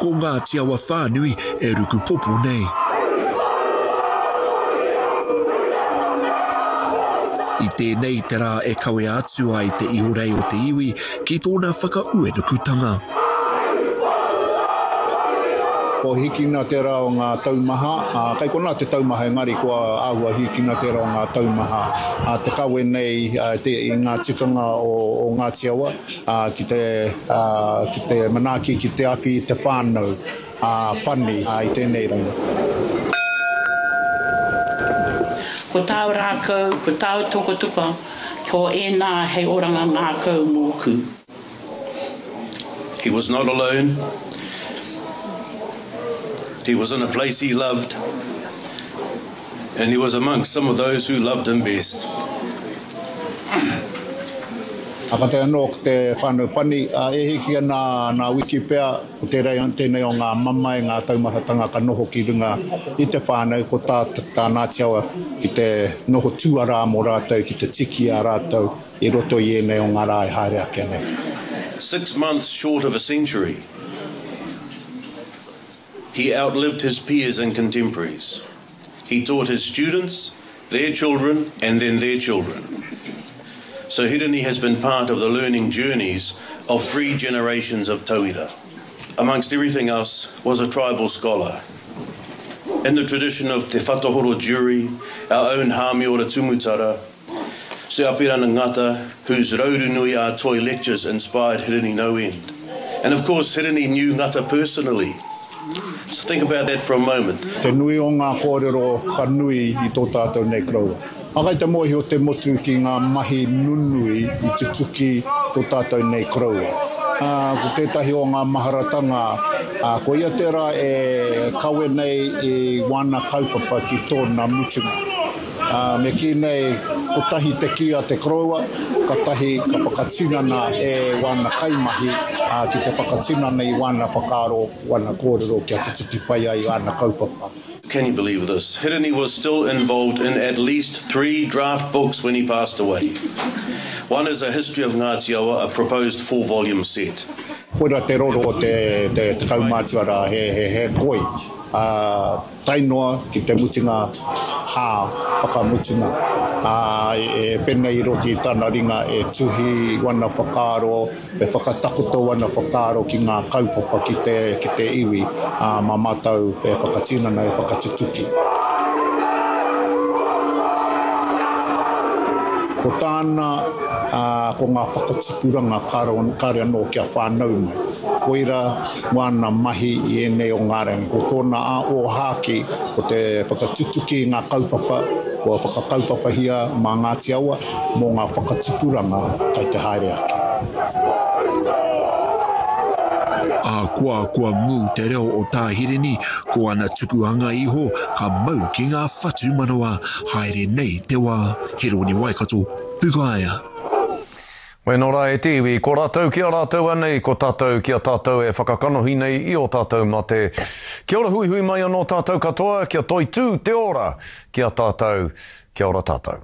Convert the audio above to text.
ko Ngāti Awa whānui e rukupopo nei. I tēnei te rā e kawea atu ai te ihorei o te iwi ki tōna whakauenukutanga. Kua hīkina tērā o ngā taumaha, ā, kei konā te taumaha engari kua āhua hīkina tērā o ngā taumaha, ā, te kawe nei te, i ngā tikanga o, o Ngāti Awa, ā, ki te, ā, ki te manaaki, ki te awhi i te whānau, ā, pani, ā, i tēnei rangi. Ko tāu rākau, ko tāu tokotoko, ko ēnā hei oranga ngākau mōku. He was not alone. He was in a place he loved, and he was amongst some of those who loved him best. A ka tae anō ko te whānau pani, a e hiki ana nā wiki pea, ko tērā, tēnei o ngā mamae, ngā taumahatanga ka noho ki runga i te whānau, ko tā, tā Ngāti Awa ki te noho tuarā mō rātou, ki te tiki i a rātou i roto i ēnei o ngā rā e haere ake nei. Six months short of a century, he outlived his peers and contemporaries. He taught his students, their children, and then their children. So Hirini has been part of the learning journeys of three generations of tauira. Amongst everything else, was a tribal scholar. In the tradition of Te Whatahoro Jury, our own Hamiora Tumutara, Sir Apirana Ngata, whose Raurunui a Toi lectures inspired Hirini no end. And of course, Hirini knew Ngata personally. So think about that for a moment. Te nui o ngā kōrero whakanui i tō tātou nei koroua. Ā, kai te mōhio te motu ki ngā mahi nunui i tutuki tō tātou nei koroua. Ā, ko tētahi o ngā maharatanga, ā, ko ia tērā e kawe nei i wāna kaupapa ki tōna mutunga. Ā, me kī nei, kotahi te kī a te koroua, katahi ka whakatinana e wāna kaimahi, ā, ki te whakatinana i wāna whakaaro, wāna kōrero kia tutuki pai ai āna kaupapa. Can you believe this? Hirini was still involved in at least three draft books when he passed away. One is a history of Ngāti Awa, a proposed four-volume set. Koira te roro o te, te, te kaumātua rā, he, he, he koi, ā, tae noa ki te mutunga hā whakamutunga, ā, e pēnei i roto i tana ringa e tuhi wana whakaaro, e whakatakoto wana whakaaro ki ngā kaupapa ki te, ki te iwi, ā, mā mātou e whakatinana, e whakatutuki. Ko tāna, ā, ko ngā whakatipuranga kāore anō kia whānau mai. Koira wāna mahi i ēnei o ngā rangi. Ko tōna ōhākī, ko te whakatutuki i ngā kaupapa kua whakakaupapahia mā Ngāti Awa mō ngā whakatipuranga kei te haere ake. Ahakoa kua ngū te reo o Tā Hirini, ko ana tukuhanga iho ka mau ki ngā whatumanawa haere nei te wā. Heroni Waikato, Pukaea. Weno ra e te iwi, ko ratou ki a ratou anei, ko tatou ki a tatou e whakakanohi nei i o tatou mate. Kia ora huihui mai ano tatou katoa, kia toitū te ora ki a tatou. Kia ora tatou.